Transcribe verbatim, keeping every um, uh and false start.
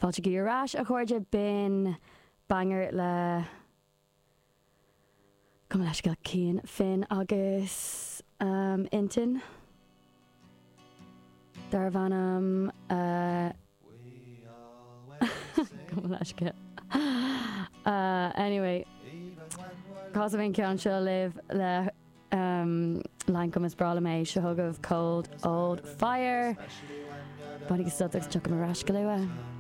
Fáilte ar ais a chairde b'in banger le Gabh mo leithscéal Cian Finn agus um, Intinn Darbh ainm uh, Gabh mo leithscéal. Uh, anyway, Cos bhíon ceann seo libh le um, Lankum is breá liom é seo chugaibh Cold Old Fire. Bainigí sult agus tiocfaidh ar ais go luath.